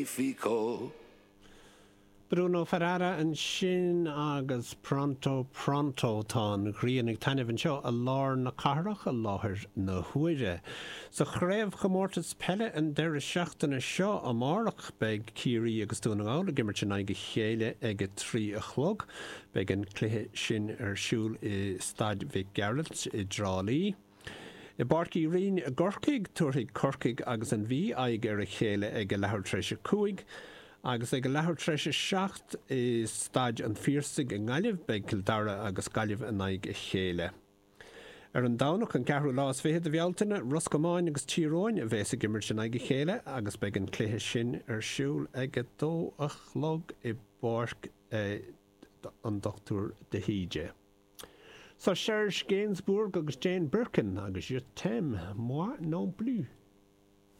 Magnifico. Bruno Ferrara ansin agus Pronto Pronto. Tá an ghrian ag taitneamh anseo i lár na cathrach i láthair na huaire. Sa chraobhchomórtas peile an deireadh seachtaine seo amárach beidh Ciarraí agus Dún na nGall ag imirt in aghaidh a chéile ag a 3 a chlog. Beidh an cluiche sin ar siúl i Staid Mhic Gearailt i dTrá Lí. I bPáirc Uí Rinn i gCorcaigh, tabharfaidh Corcaigh agus an Mhí aghaidh ar a chéile ag a leathuair tar éis a 5, agus ag a leathuair tar éis a 7 i Staid an Phiarsaigh i nGaillimh, beidh Cill Dara agus Gaillimh in aghaidh a chéile. Ar an Domhnach, an ceathrú lá is fiche de Bhealtaine, Ros Comáin agus Tír Eoghain a bheas ag imirt in aghaidh a chéile agus beidh an cluiche sin ar siúl ag a dó a chlog i bPáirc an Dr de hÍde. So Serge Gainsbourg agus Jane Birkin agus Je t'aime, moi non plus.